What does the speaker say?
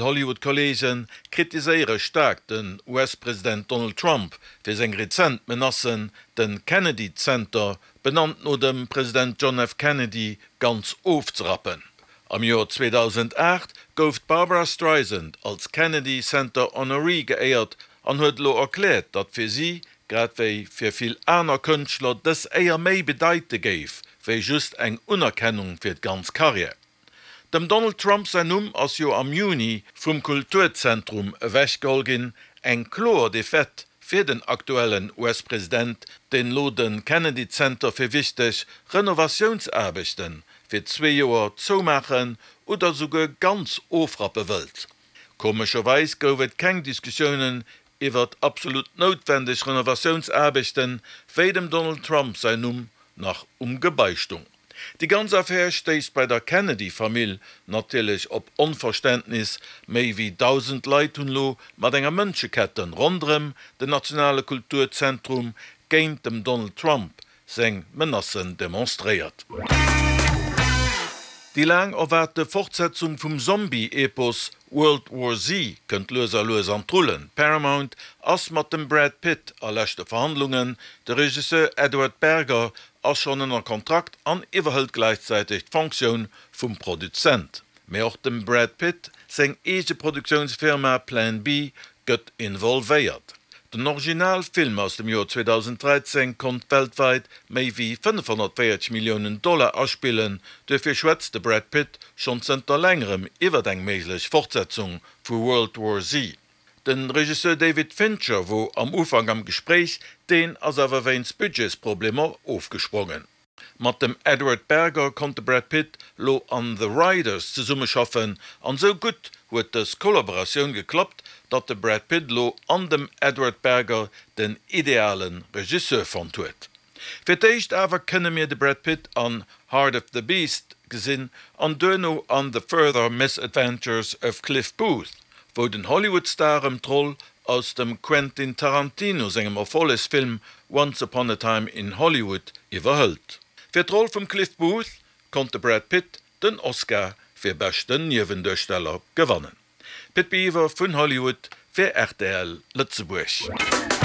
Hollywood-Kolleege kritiséiere staark den US-President Donald Trump fir seng rezent Menacen, de Kennedy Center, benannt no dem President John F. Kennedy, ganz ofzerappen. Am Joer 2008 gouf d'Barbra Streisand als Kennedy Center Honoree geéiert an huet elo erkläert, datt fir si, grad wéi fir vill aner Kënschtler, dës Éier méi bedeite géif, wéi just eng Unerkennung fir d'ganz Karriär. Dem Donald Trump säin Numm ass jo am Juni vum Kulturzentrum ewechgeholl ginn, eng kloer Defaite fir den aktuellen US-President, deen elo de Kennedy Center fir wichteg Renovatiounsaarbechte fir zwee Joer zoumaachen oder souguer ganz ofrappe wëllt. Komescherweis gouf et keng Diskussiounen iwwert absolut noutwendeg Renovatiounsaarbechten, wéi dem Donald Trump säin Numm nach um Gebai stung. Déi ganz Affär stéisst bei der Kennedy-Famill natierlech op Onverständnis. Méi wéi 1.000 Leit hunn elo mat enger Mënscheketten ronderëm den nationale Kulturzentrum géint dem Donald Trump seng Menacen demonstréiert. Déi laang erwaarte Fortsetzung vum Zombie-Epos World War Z kënnt lues a lues an d'Rullen. Paramount ass mat dem Brad Pitt a leschte Verhandlungen, de Regisseur Edward Berger ass schonn ënner Kontrakt an iwwerhëlt gläichzäiteg d'Fonctioun vum Produzent. Mee och dem Brad Pitt seng eege Produktiounsfirma Plan B gëtt involvéiert. Den Original Film aus dem Joer 2013 konnt weltwäit méi wéi 540 Milliounen Dollar aspillen, duerfir schwätzt de Brad Pitt schonn zënter längerem iwwert eng méiglech Fortsetzung vu World War Z. De Regisseur David Fincher wor am Ufank am Gespréich, deen ass awer wéinst Budgetsproblemer ofgesprongen. Mat dem Edward Berger konnt de Brad Pitt lo an The Riders zesummeschaffen an sou gutt huet dës Kollaboratioun geklappt, datt de Brad Pitt lo an dem Edward Berger den ideale Regisseur fonnt huet. Fir d'éischt awer kënne mir de Brad Pitt an Heart of the Beast gesinn an duerno an The Further Misadventures of Cliff Booth, wou den Hollywood-Star ëm d'Roll aus dem Quentin Tarantino sengem Erfollegsfilm Once Upon a Time in Hollywood iwwerhëlt. Fir d'Roll vum Cliff Booth konnt de Brad Pitt den Oscar fir beschten Niewenduersteller gewannen. Pit Biwer vun Hollywood fir rtl Lëtzebuerg.